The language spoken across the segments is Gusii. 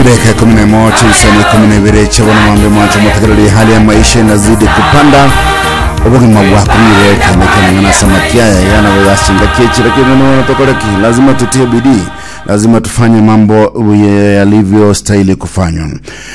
Chidakika 11 chinsemo 12 chabona mambe mwancho motegereri hali ya maisha inazidi kupanda obogima bwakumire kende kenang'ana samakiaya igana goyasinga kiechira kinene tokoreki lazima tutie bidii lazima tufanye mambo yalivyo stahili kufanywa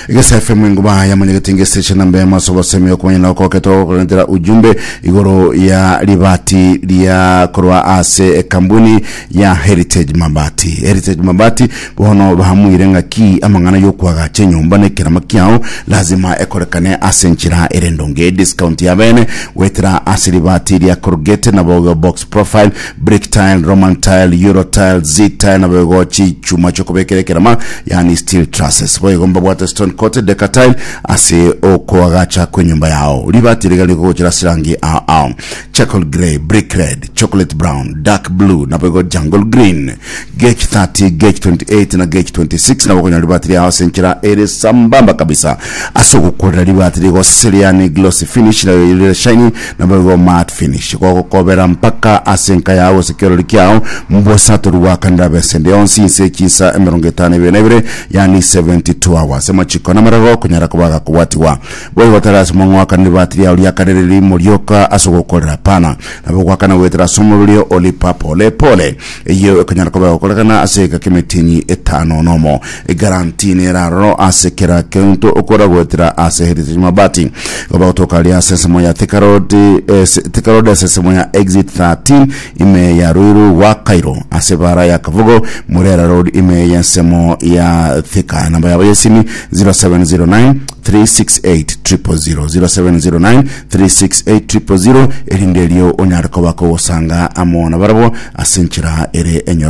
Egesa FM enguba ya mwenyegetinge station namba ya maso basemi okumanya na okoketo okorentera ujumbe igoro ya ribati ria korwa ase ekambuni ya Heritage Mabati. Heritage Mabati bono bahamuire ng'aki amang'ana yokwagacha enyomba na ekerama kiao lazima ekorekane ase enchera ere endonge. Discount ya bene goetera ase ribati ria corrugated nabo box profile, brick tile, Roman tile, Euro tile, Z tile nabo chichuma chiokobekera ekerama yani steel trusses. Boigo mbabwate stone coated deca tile ase okoagacha kwenyomba yao. Ribati riga rigogochera ase rangi ao ao charcoal grey, brick red, chocolate brown, dark blue naboigo jungle green, gauge 30, gauge 28 na gauge 26 nabo okonyora ribati riao ase enchera ere sambamba kabisa. Ase ogokorera ribati rigoseria yani glossy finish na rire shiny naboigo matte finish gogokobera mpaka ase enka yao gose kerori kiao mbosa torigwakanera besende yonsi inse chinsa 52 yani 72 hours. Amachiko namarago konyara koba gakobwatigwa. Boigo tari ase omong'oakani ribati riao riakanire rimo rioka ase ogokorera hapana. Nabo ogoakana goetera ase omoroberi olipa pole pole. Eyio ekonyara koba egokorekana ase egeka k'emetienyi etano nomo. Egaranti nere aroro ase kera kento okora goetera ase Heritage Mabati. Igo bagotoka aria ase ensemo ya Thika Road, eh, Thika Road ase ensemo ya Exit 13 ime ya Ruiru gwa Cairo ase ebara ya Kabugo Murera Road ime y'ensemo ya Thika. Namba yabo y'esimi 0709 368 000 0709 368 000 erinde erio onyare koba kogosanga amo nabarabwo ase enchera ere enyoro.